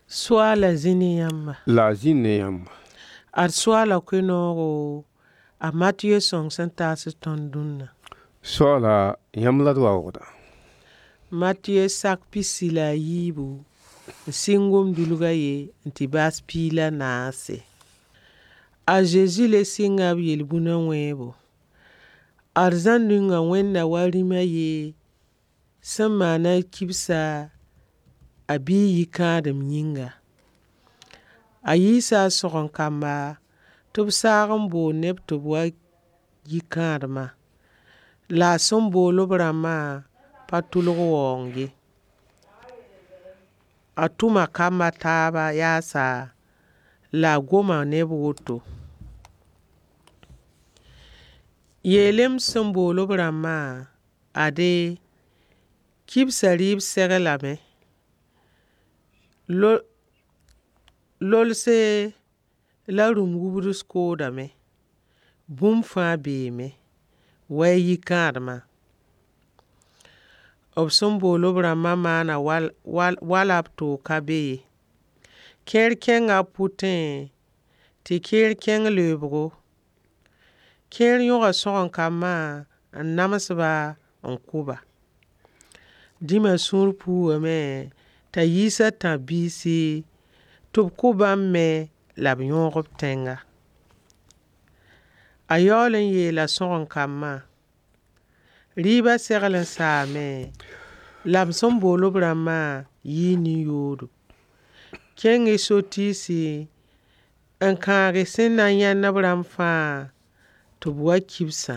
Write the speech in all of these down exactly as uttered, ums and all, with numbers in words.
Soaala zĩ ne yãmba. La a zĩnd ne yãmba. Ad soaala koe-noogo a Matiyo sõng sẽn taas tõnd dũnna. Soaala yãmb la d waoogda. Matiyo sak pisi la a yiibu n sɩng gom-dulga ye n tɩ baas piig la naase. A Zezi le sɩnga b yel-bũna wẽebo. Arzãn ninga wẽnda wa rĩm a ye sẽn maan a kibsa a biig yikãadem yĩnga. A yiisa a sõgen-kamba tɩ b saag n bool neb tɩ b wa yi kãadmã. La a sẽn bool b rãmbã pa tʋlg waoong ye. A tʋma kamb a taaba yaasa la a goma ne b woto: Yeel-y m sẽn bool b rãmbã, ade, kibsã rɩɩb seglame. Lolse la rũm wubds koodame. Bũmb fãa beeme. Wa-y yikãadmã. B sẽn bool b rãmbã maana wala b toog ka be ye. Kẽer kẽnga b pʋtẽ tɩ kẽer kẽng leoobgo. Kẽer yõga sõgen-kambã n nams-ba n kʋ-ba. Dĩma sũur puugame t'a yiis a tãb-biisi tɩ b kʋ bãmb me la b yõog b tẽnga. A yaool n yeela sõgen-kambã: rɩɩbã segl n saame, la m sẽn bool b rãmbã yɩɩ nin-yoodo. Kẽng-y so-tiisi n kãag sẽn na yãend b rãmb fãa tɩ b wa kibsã.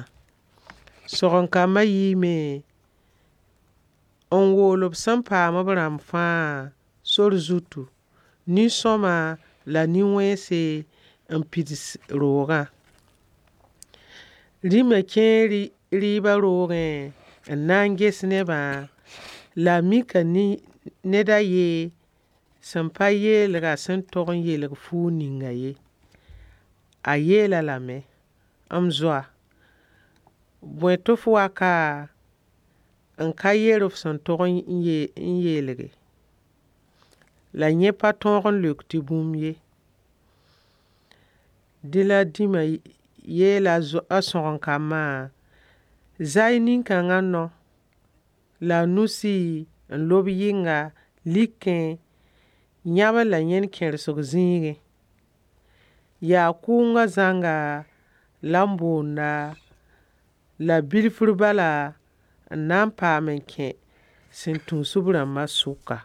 Sõgen-kambã yiime n wool b sẽn paam b rãmb fãa sor zutu, nin-sõma la nin-wẽnse n pids roogã. Rĩma kẽe rɩɩbã roogẽ n na n ges nebã la a mika ned a ye sẽn pa yeelgã sẽn tog n yeelg fuug ninga ye. A yeel-a lame: M zoa, bõe tɩ f wa ka n ka yer f sẽn tog n yeelge? La yẽ pa tõog n leok tɩ bũmb ye. Dẽ la dĩma yeela a sõgen-kambã: Za-y nin-kãngã nao la a nusi n lob yɩnga likẽ yãbr la yẽn kẽrsg zĩigẽ. Yaa kʋʋngã zãnga la m boonda la bilfr bala n na n paam n kẽ sẽn tũus b rãmbã sʋka.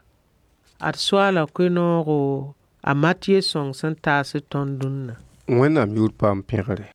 Ad soaala koe-noogo a Matiyo sõng sẽn taas tõnd dũnna. Wẽnnaam yʋʋr paam pẽgre.